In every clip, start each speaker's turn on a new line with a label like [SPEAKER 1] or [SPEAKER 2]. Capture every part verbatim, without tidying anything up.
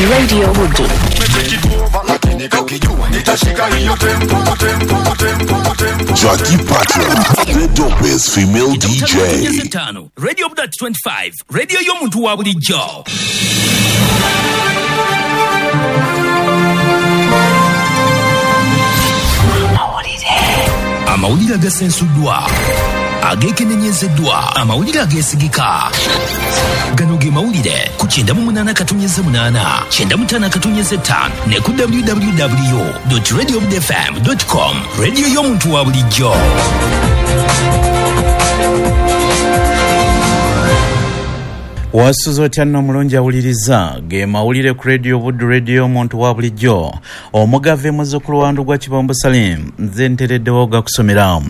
[SPEAKER 1] Radio Buddu.
[SPEAKER 2] Jackie Patra, the dopest female D J.
[SPEAKER 3] Radio Buddu twenty-five, radio y'omuntu wa bulijjo. Amawulire agasensuddwa, ageekenenyezeddwa, amawulire ageesigika. Gano ge mawulire ku kyenda mu munaana katonnyeze munaana, kyenda mu ttaano katonnyeze ttaano ne ku w w w dot radio buddu f m dot com. Radio y'omuntu wa bulijjo.
[SPEAKER 4] Wasuze otya nno omulungi awuliriza ge mawulire ku Radio Buddu, radio y'omuntu wa bulijjo. Omugave muzzukulu wa Ndugwa Kibombo Salim, nze ntereddewo gakusomera.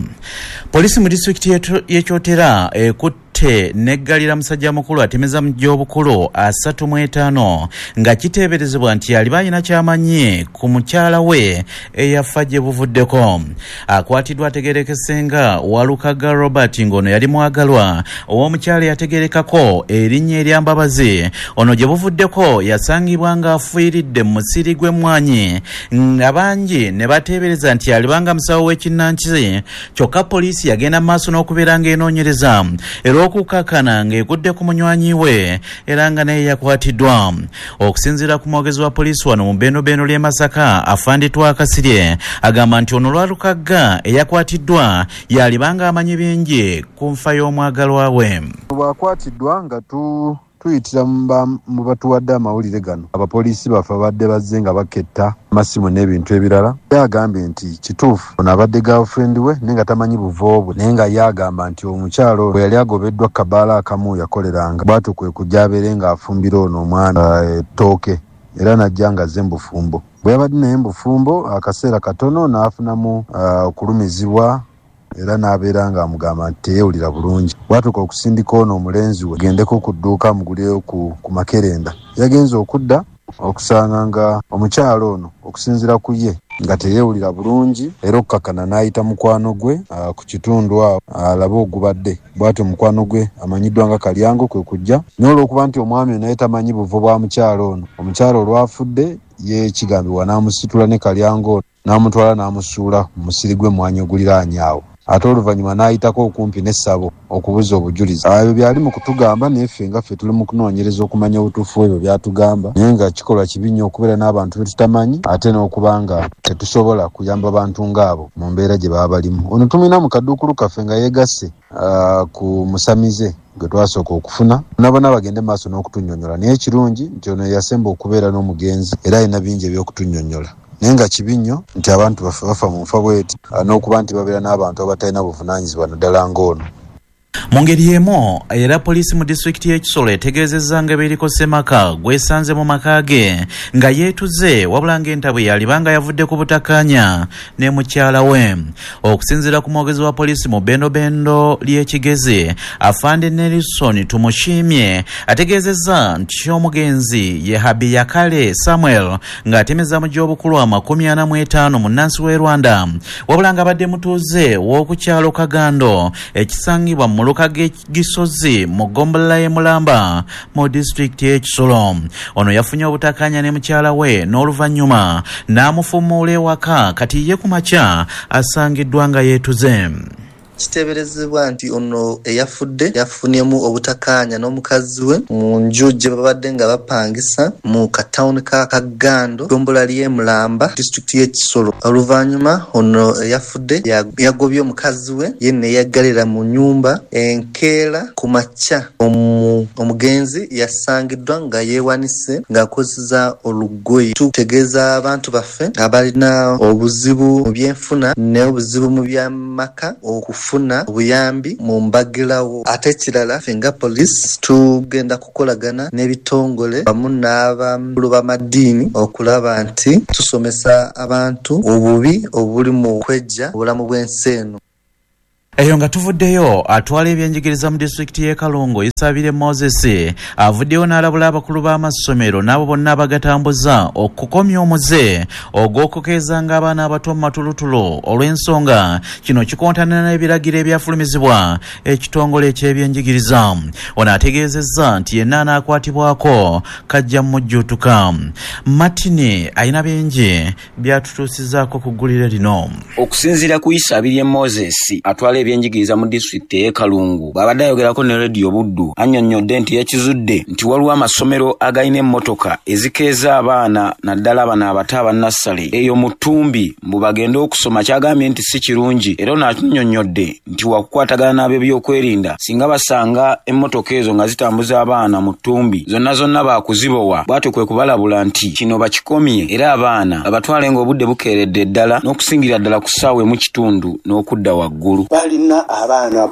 [SPEAKER 4] Poliisi mu disitulikiti y'e Kyotera ekutte neggalira musajja mukulu atemeza mu gy'obukulu asatu mu etaano nga kiteeberezebwa nti yaliba alina ky'amanyi ku mukyala we eyafa gye buvuddeko. Akwatiddwa ategeerekese nga Walukaga Robert, ng'ono yali mwagalwa ow'omukyala eyategeerekako erinnya erya Mbabazi. Ono gye buvuddeko yasangibwa ng'afiiridde mu musiri gw'emmwanyi, abangi ne bateebereza nti yalibanga musawo w'ekinnansi. Kyokka poliisi yagenda mu maaso n'okubeera ng'enoonyereza era okukakana ng'egudde ku munywanyi we era nga naye yakwatiddwa. Okusinziira ku mwogezi wa poliisi wano mu Bendobendo ly'e Masaka, Afande Twakasirye, agamba nti ono Lwalukagga eyakwatiddwa yalibanga amanyi bingi ku nfa y'omwagalwa we.
[SPEAKER 5] Bw'akwatiddwa nga tu tuyitira mu batuwadde amawulire gano, abapoliisi baffe abadde bazze nga baketta amasimu n'ebintu ebirala. Yagambye nti kituufu ono abadde girlfriend we naye nga tamanyi buvo bwe, naye nga ye agamba nti omukyalo bwe yali agobeddwa kabaala akamu yakoleranga, bw'atyo kwe kujja abeere ng'afumbira ono omwana ettooke, era n'ajja ng'azze mu bufumbo. Bwe yabadde naye mu bufumbo akaseera katono n'afunamu okulumizibwa era n'abeera ng'amugamba nti teyeewulira bulungi. Bw'atuuka okusindika ono omulenzi we gendeko ku dduuka amugulireyo ku, ku makerenda, yagenze okudda okusanga nga omukyalo ono okusinziira ku ye nga teyeewulira bulungi, era okukakana n'ayita mukwano gwe uh, ku kitundu awo alabe ogubadde. Bw'atyo mukwano gwe amanyiddwa nga Kalyango kwe kujja, naye olw'okuba nti omwami naye tamanyi buvo bwa mukyalo ono, omukyalo olwafudde ye kigambibwa n'amusitula ne Kalyango ono n'amutwala n'amusuula mu musiri gw'emmwanyi oguliraanye awo. Ate oluvannyuma n'ayitako okumpi n'essabo okubuza obujulizi. Ebyo byali mu kutugamba, naye ffe nga ffe tuli mu kunoonyereza okumanya obutuufu ebyo byatugamba, naye nga kikolwa kibi nnyo okubeera n'abantu be tutamanyi ate n'okuba nga tetusobola kuyamba bantu ng'abo mu mbeera gye baba balimu. Ono tumulina mu kaduukulu kaffe nga yeegasse uh, ku musamize gwe twasooka okufuna, nabona bagende maaso n'okutunnyonnyola, naye ekirungi nti ono yasemba okubeera n'omugenzi era alina bingi eby'okutunnyonnyola. Naye nga kibi nnyo nti abantu bafe bafa mu nfa bweti n'okuba nti babeera n'abantu abatalina buvunaanyizibwa naddala ng'ono.
[SPEAKER 4] Mu ngeri y'emu era poliisi mu disitulikiti y'e Kisolo etegeezezza nga bw'eriko ssemaka gwesanze mu maka ge nga yeetuze, wabula ng'entabwe yalibanga yavudde ku butakkaanya ne mukyala we. Okusinziira ku mwogezi wa poliisi mu Bendobendo ly'e Kigezi, Afande Nelson Tumushimye, ategeezezza nti omugenzi ye Habiyakale Samuel ng'atemeza mu gy'obukulu amakumi ana mu etaano munnansi w'e Rwanda, wabula ng'abadde mutuuze w'oku kyalo Kagando ekisangibwa mu muluka Gisozi mu ggombolola y'e Mulamba mu disitulikiti y'e Kisolo. Ono yafunye obutakkaanya ne mukyala we n'oluvannyuma n'amufumuula ewaka, kati ye ku makya asangiddwa nga yeetuze.
[SPEAKER 6] Kiteeberezebwa nti ono eyafudde yafunyemu obutakkaanya n'omukazi we mu nju gye babadde nga bapangisa mu katawuni ka Kagando, ggombolola ly'e Mulamba, disitulikiti y'e Kisolo. Oluvannyuma ono eyafudde yagobye omukazi we ye ne yeggalira mu nnyumba. Enkeera ku makya omugenzi yasangiddwa nga yeewanise ng'akozesa olugoye. Tutegeeza abantu baffe abalina obuzibu mu byenfuna n'obuzibu mu by'amaka okufu okufuna obuyambi mu mbagirawo. Ate ekirala ffe nga poliisi tugenda kukolagana n'ebitongole wamu n'abakulu b'amaddiini okulaba nti tusomesa abantu obubi obuli mu kwejja obulamu bw'ensi eno.
[SPEAKER 4] Eyo nga tuvuddeyo, atwala ebyenjigiriza mu disitulikiti y'e Kalungu Isabire Moses avuddeyo n'alabula abakulu b'amasomero n'abo bonna abagatambuza okukomya omuze ogw'okukeezanga abaana abato mu matulutulu, olw'ensonga kino kikontana n'ebiragiro ebyafulumizibwa ekitongole eky'ebyenjigiriza. Ono ategeezezza nti yenna anaakwatibwako kajja mujjuutuka. Martin alina bingi byatutuusizaako ku ggulire lino.
[SPEAKER 1] Okusinziira ku Isabirye Moses atwala ebyenjigiriza mu disitulikiti ey'e Kalungu, bw'abadde ayogerako ne Rediyo Buddu, annyonnyodde nti yakizudde nti waliwo amasomero agalina emmotoka ezikeeza abaana, naddala bano abato abannassale eyo mu ttumbi, mbu bagende okusoma, kyagambye nti si kirungi. Era ono annyonnyodde nti wakukwatagana n'ab'ebyokwerinda singa basanga emmotoka ezo nga zitambuza abaana mu ttumbi, zonna zonna baakuzibowa. Bw'atyo kwe kubalabula nti kino bakikomye, era abaana babatwale ng'obudde bukeeredde ddala n'okusingira ddala ku ssaawa emu kitundu n'okudda waggulu.
[SPEAKER 7] Balina abaana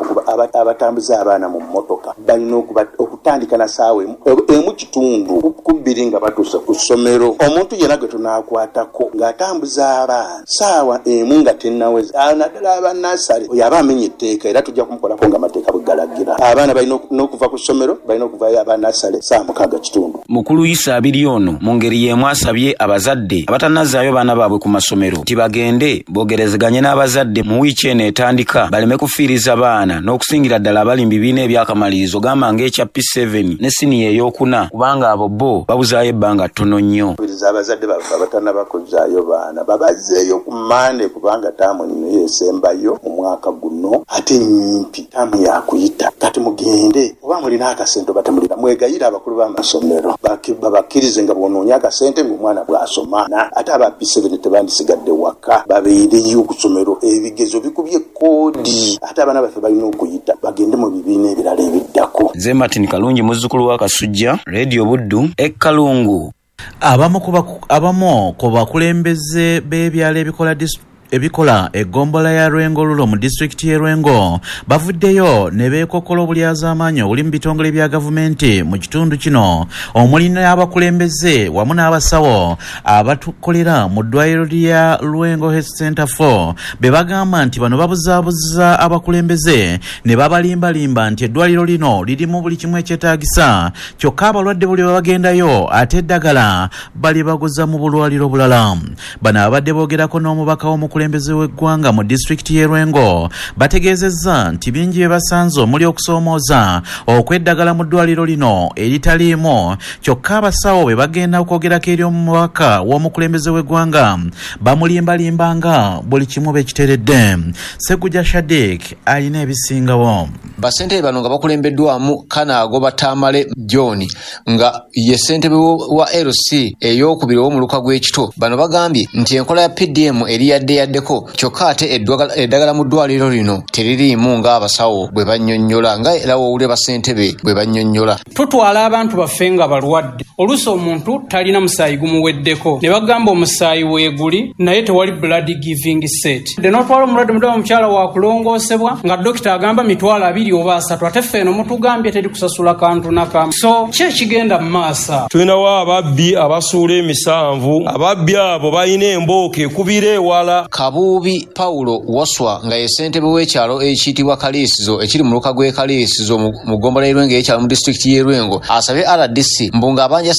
[SPEAKER 7] abatambuza abaana mu mmotoka balina okutandika na ssaawa emu kitundu ku bbiri nga batuuse ku ssomero. Omuntu yenna gwe tunaakwatako ng'atambuza abaana ssaawa emu nga tennaweza, naddala abannasale, oyo aba amenya etteeka era tujja kumukolako ng'amateeka bwe galagira. Abaana balina n'okuva ku ssomero, balina okuvaayo abannasale ssaawa mukaaga kitundu.
[SPEAKER 1] Mukulu Isabirye ono mu ngeri y'emu asabye abazadde abatannazaayo baana baabwe ku masomero nti bagende boogerezeganye n'abazadde mu wiiki eno etandika, baleme kufiiriza baana n'okusingira ddala abali mu bibiina ebyakamalirizo, gamba ng'ekya P seven ne siniya ey'okuna, kubanga abo bo babuzaayo ebbanga ttono nnyo.
[SPEAKER 7] Abazadde baffe abatannaba kuzzaayo baana babazzeeyo ku Mmande, kubanga taamu eno yeesembayo mu mwaka guno, ate nnyimpi, taamu yakuyita. Kati mugende, oba mulina akasente oba temulina, mwegayire abakulu b'amasomero babakkirize nga bw'onoonya akasente ng'omwana bw'asoma. Ate aba P seven tebandisigadde waka, babeereyo ku ssomero, ebigezo bikubye koodi, ate abaana baffe balina okuyita bagende mu bibiina ebirala ebiddako.
[SPEAKER 1] Nze Martin Kalungi, muzzukulu wa Kasujja, Radio Buddu e Kalungu.
[SPEAKER 4] Abamu ku bakulembeze b'ebyalo ebikola ebikola eggombolola ya Lwengo Lulo mu disitulikiti y'e Lwengo bavuddeyo ne beekokola obulyazaamaanyi obuli mu bitongole bya gavumenti mu kitundu kino, omuli n'abakulembeze wamu n'abasawo abatukolera mu ddwaliro lya Lwengo Health Center four, be bagamba nti bano babuzaabuza abakulembeze ne babalimbalimba nti eddwaliro lino lirimu buli kimu ekyetaagisa, kyokka abalwadde buli bwe bagendayo ate eddagala balibaguza mu bulwaliro bulala. Bano abadde boogerako n'omubaka w'omukulembeze omukulembeze w'eggwanga mu disitulikiti y'e Lwengo bategeezezza nti bingi bye basanze omuli okusoomooza okweddagala mu ddwaliro lino eritaliimu, kyokka abasawo bwe bagenda okwogerako eri omubaka w'omukulembeze w'eggwanga bamulimbalimbanga buli kimu bekiteredde. Sseguja Shadik alina ebisingawo.
[SPEAKER 8] Bassentebe bano nga bakulembeddwamu Kanaagoba Tamale John nga ye ssentebe wa L C ey'okubiri ow'omuluka gw'Ekito, bano bagambye nti enkola ya P D M eri yadde yaddeko, kyokka ate eddagala mu ddwaliro lino teririimu ng'abasawo bwe bannyonnyola, nga era w'owulira bassentebe bwe bannyonnyola.
[SPEAKER 9] Tutwala abantu baffe nga balwadde, oluusi omuntu talina musaayi gumuweddeko ne bagamba omusaayi weeguli naye tewali blood giving set. N'otwala omulwadde muddala omukyala wakulongoosebwa nga dokita agamba mitwalo abiri oba asatu, ate ffe eno mutugambye teri kusasula kantu nakamu. So ki ekigenda mu maaso?
[SPEAKER 10] Tulinawo ababbi abasuula emisanvu, ababbi abo balina embooka ekubira ewala.
[SPEAKER 8] Kabuubi Paulo Waswa nga ye ssentebe w'ekyalo ekiyitibwa Kaliisizo ekiri mu luka gw'e Kaliisizo mu ggombolola y'e Lwengo ey'ekyalo mu disitulikiti y'e Lwengo asabye R D C mbu ng'abanja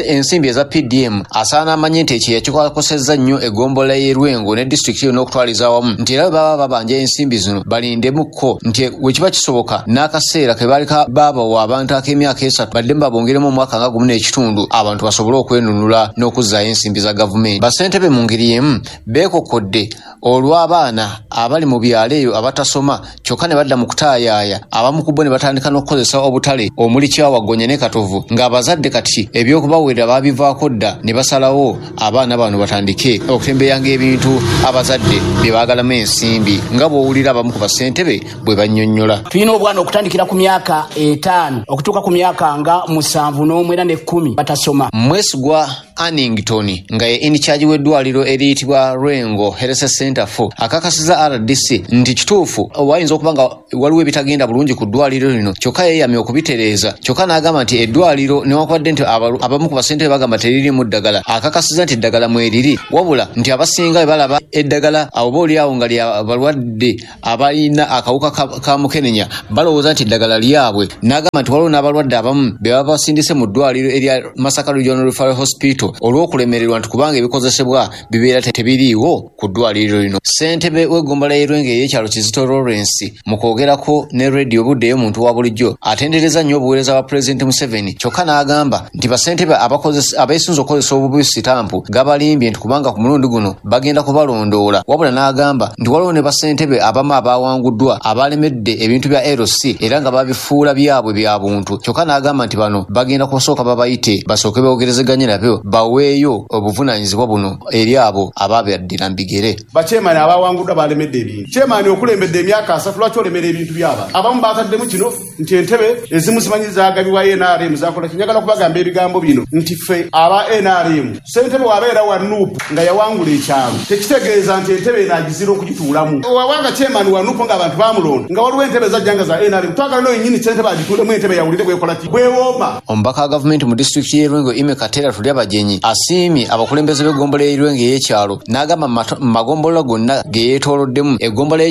[SPEAKER 8] ensimbi eza P D M asaana amanye nti ekyeya kikakosezza nnyo eggombolola y'e Lwengo ne disitulikiti yonna okutwaliza awamu, nti era bwe baba babanja ensimbi zino balindemukko nti bwe kiba kisoboka n'akaseera ke baali baabawa abantu ak'emyaka esatu baddemu babongeremu omwaka nga gumu n'ekitundu abantu basobole okwenunula n'okuzzaayo ensimbi za gavumenti. Bassentebe mu ngeri y'emu beekokodde olw'abaana abali mu byalo eyo abatasoma kyokka ne badda mu kutaayaaya, abamu ku bo ne batandika n'okukozesa obutale omuli Kyawagonya ne Katovu, ng'abazadde kati ebyokubaweerera baabivaako dda ne basalawo abaana bano batandike okutembeyanga ebintu abazadde bye baagalamu ensimbi, nga bw'owulira abamu ku bassentebe bwe bannyonnyola.
[SPEAKER 11] Tulina obwana okutandikira ku myaka etaano okutuuka ku myaka nga musanvu n'omwenda n'ekkumi batasoma.
[SPEAKER 8] Mwesigwa Annington nga ye in charge w'eddwaliro eriyitibwa Lwengo Lwengo Health Center four akakasiza R D C nti kituufu wayinza okuba nga waliwo ebitagenda bulungi ku ddwaliro lino, kyokka yeeyamye okubitereeza. Kyokka n'agamba nti eddwaliro newankubadde nti abamu ku basentebe bagamba teririmu ddagala, akakasiza nti eddagala mweriri, wabula nti abasinga bwe balaba eddagala oba oliawo nga lya balwadde abalina akawuka ka, ka mukenenya balowooza nti eddagala lyabwe. N'agamba nti waliwo n'abalwadde abamu be baba basindise mu ddwaliro erya Masaka Regional Referral Hospital olw'okulemererwa nti kubanga ebikozesebwa bibeera tebiriiwo ku ddwaliro lino. Ssentebe w'eggombolola y'e Lwengo ey'ekyalo Kizito Lawrence mu kwogerako ne Radio Buddu ey'omuntu wa bulijjo atendereza nnyo obuweereza bwa Pulezidenti Museveni, kyokka n'agamba nti bassentebe abeesunze okukozesa obubi sitampu gabalimbye nti kubanga ku mulundi guno bagenda kubalondoola. Wabula n'agamba nti waliwo ne bassentebe abamu abawanguddwa abalemedde ebintu bya L C era nga babifuula byabwe bya buntu, kyokka n'agamba nti bano bagenda kusooka babayite basooke boogerezeganye nabyo baweeyo obuvunaanyizibwa buno eri abo ababaddira mu bigere.
[SPEAKER 12] Bakyemani abawanguddwa balemedde ebintu. Kyemani okulembedde emyaka asatu lwaki olemera ebintu byaba? Abamu bataddemu kino nti entebe ezimu zimanyi zaagabibwa N R M zakola ki. Njagala kubagamba ebigambo bino nti ffe aba N R M ssentebe wabeera wa N U P nga yawangula ekyalo tekitegeeza nti entebe eno agizira okugituulamu. Wabanga kyemani wa N U P ng'abantu bamulonda nga waliwo entebe zajja nga za N R M, twagala n'oyo nnyini ssentebe agituulemu entebe yawulire bwekola ki bwewooma.
[SPEAKER 8] Omubaka wa gavumenti mu disitulikiti y'e Lwengo Ime Katera Tulyabagenyi asiimye abakulembeze b'eggombolola y'e Lwengo ey'ekyalo n'agamba mu magombolola gonna ge yeetooloddemu eggombolola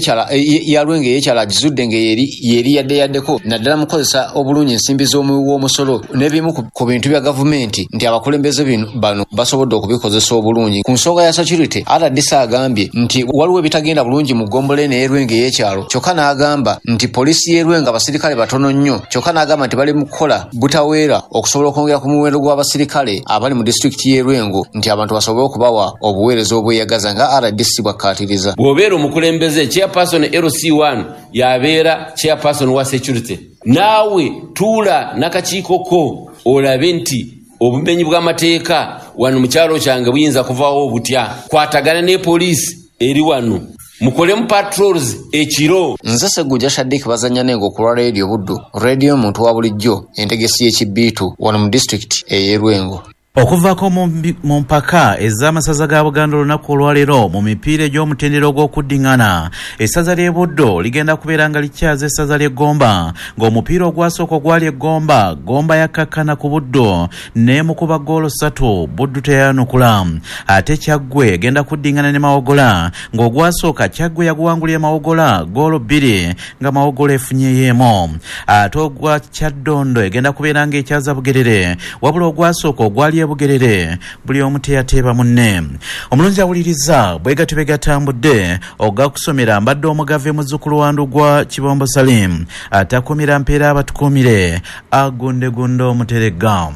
[SPEAKER 8] ya Lwengo ey'ekyalo agizudde nga yeri yadde yaddeko naddala mu kukozesa obulungi ensimbi z'omuwi w'omusolo n'ebimu ku bintu bya gavumenti nti abakulembeze bano basobodde okubikozesa obulungi. Ku nsonga ya security, R D C agambye nti waliwo ebitagenda bulungi mu ggombolola eno ey'e Lwengo ey'ekyalo, kyokka n'agamba nti poliisi y'e Lwengo abasirikale batono nnyo, kyokka n'agamba nti bali mu kukola butaweera okusobola okwongera ku muwendo gw'abasirikale abali mu disitulikiti y'e Lwengo nti abantu basobole okubawa obuweereza obweyagaza nga R D C bwakkaatiriza.
[SPEAKER 13] Bw'obeera omukulembeze chairperson L C one yabeera chairperson wa security, naawe tuula n'akakiiko ko olabe nti obumenyi bw'amateeka wano mu kyalo kyange buyinza kuvaawo butya. Kwatagana ne poliisi eri wano, mukolemu patrols ekiro.
[SPEAKER 8] Nze Ssegujja Shadik bazannya n'engo ku lwa Radio Buddu, Radio omuntu wa bulijjo, entegesi y'ekibiitu wano mu disitulikiti ey'e Lwengo.
[SPEAKER 4] Okuvaako mu mpaka ez'amasaza ga Buganda olunaku olwaleero mu mipiira egy'omutendera ogw'okuddiŋŋana, essaza ly'e Buddo ligenda kubeera nga likyaza essaza ly'e Gomba, ng'omupiira ogwasooka ogwali e Gomba, Gomba yakkakkana ku Buddo n'emukuba ggoolo ssatu, Buddu teyayanukula. Ate Kyaggwe egenda kuddiŋŋana ne Mawogola, ng'ogwasooka Kyaggwe yaguwangulira Mawogola ggoolo bbiri nga Mawogola efunyeyo emu. Ate ogwa Kyaddondo egenda kubeera ng'ekyaza Bugerere, wabula ogwasooka ogwali Bugerere buli omu teyateeba munne. Omulungi awuliriza bwe gatyo bwe gatambudde ogakusomera mbadde omugave muzzukulu wa Ndugwa Kibombo Salim atakumira mpeera abatukuumire agundegunde omuteregga.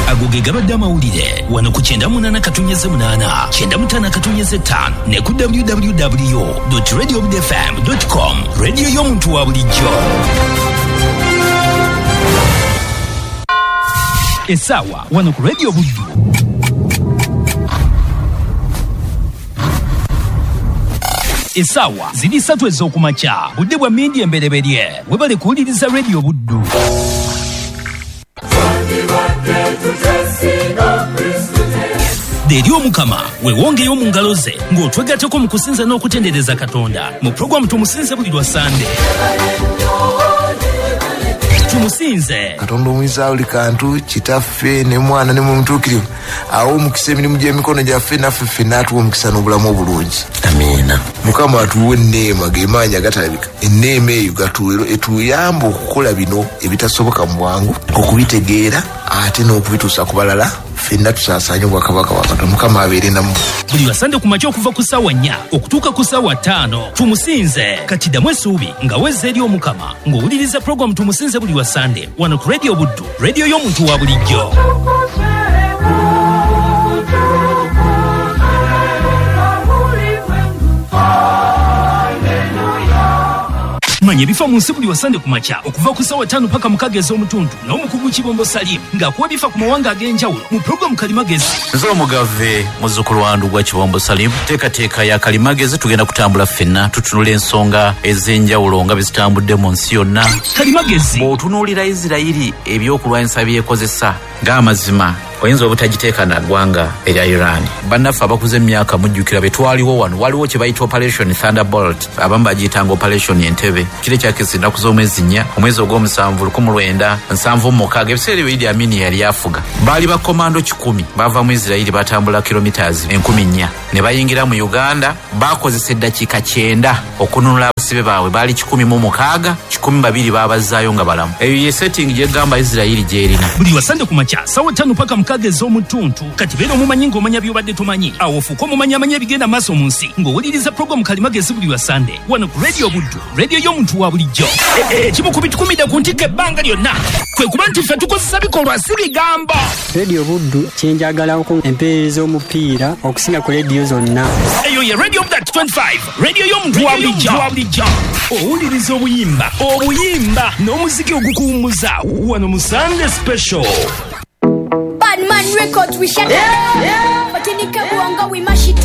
[SPEAKER 3] Ago ge gabadde amawulire wano ku kyenda munaana katunyeze munaana kyenda mutaano katunyeze ttaano ne ku w w w dot radio buddu f m dot com. Radio y'omuntu wa bulijjo. Essaawa wano ku Radio Buddu essaawa ziri ssatu ez'okumakya, budde bwa mmindi embereberye. Webale kuwuliriza Radio Buddu. Eri Omukama weewongeyo mu ngalo ze ng'otwegatteko mu kusinza n'okutendereza Katonda mu pulogulaamu Tumusinze buli lwa Sande. Tumusinze
[SPEAKER 14] Katonda omuyinza buli kantu, Kitaffe ne Mwana ne Mwoyo awo omukisa emirimu gy'emikono gyaffe naffe ffenna atuwe omukisa n'obulamu obulungi. Amiina. Mukama atuwe enneema gemaanyi agatalabika, enneema eyo etuyamba okukola bino ebitasoboka mu bwangu, okubitegeera ate n'okubituusa ku balala, ffenna tusaasaanye obwakabaka bwa Katonda. Mukama abeere nammwe.
[SPEAKER 3] Buli lwa Sande ku makya okuva ku ssaawa nnya okutuuka ku ssaawa ttaano Tumusinze. Kati ddamu essuubi nga wezza eri Omukama ng'owuliriza pulogulaamu Tumusinze buli lwa Sande wano ku Radio Buddu, radio y'omuntu wa bulijjo. Manya ebifa mu nsi buli wa Sande ku makya okuva ku ssaawa ttaano paka mukaaga ez'omutundu n'omukugu Kibombo Salim ng'akuwa ebifa ku mawanga ag'enjawulo mu pulogulaamu Kalimagezi.
[SPEAKER 4] Nze omugave muzzukulu wa Ndugwa Kibombo Salim, teekateeka ya Kalimagezi tugenda kutambula ffenna tutunula ensonga ez'enjawulo nga bwe zitambudde mu nsi yonna.
[SPEAKER 3] Kalimagezi
[SPEAKER 4] bw'otunuulira Isirayiri ebyokulwanyisa byekozesa ng'amazima Oyinza obutagiteeka na ggwanga erya Iran. Bannaffe abakuze emyaka mujjukira be twaliwo wano, waliwo kye bayita Operation Thunderbolt, abamu bagiyitanga Operation Entebbe. Kiro ekyakisa ennaku z'omwezi nnya, omwezi ogw'omusanvu lukumi lwenda nsanvu mu mukaaga, ebiseera ebyo Idi Amin yali afuga. Baali bakomando kikumi bava mu Isirayiri, batambula kilometers enkumi nnya ne bayingira mu Uganda. Bakozesa eddakiika kyenda okununula abasibe baabwe, baali kikumi mu mukaaga, kikumi babiri baabazaayo nga balamu. Eyo ye setting gyegamba Isirayiri gy'erina.
[SPEAKER 3] Buli lwa Sande ku makya ssaawa ttaano paka mukaaga ez'omutuntu. Kati beera omumanyi ng'omanya by'obadde tomanyi, awo ofuuke omumanyi amanya ebigenda maaso mu nsi ng'owuliriza puroguramu Kalimagezi buli lwa Sande wano ku Radio Buddu, radio y'omuntu wa bulijjo. Ekimu ku bitukumidde ku ntikko ebbanga lyonna kwe kuba nti ffe tukozesa bikolwa si bigambo.
[SPEAKER 15] Radio Buddu kyenjagalako empeereza omupiira okusinga ku rediyo zonna.
[SPEAKER 3] Eyo ye Radio Buddu twenty-five, radio y'omuntu wa bulijjo. Owuliriza obuyimba obuyimba n'omuziki ogukuwummuza wano mu Sunday Special.
[SPEAKER 16] Badman Records, we shut up. Yeah. But in the Kabuanga, we mash it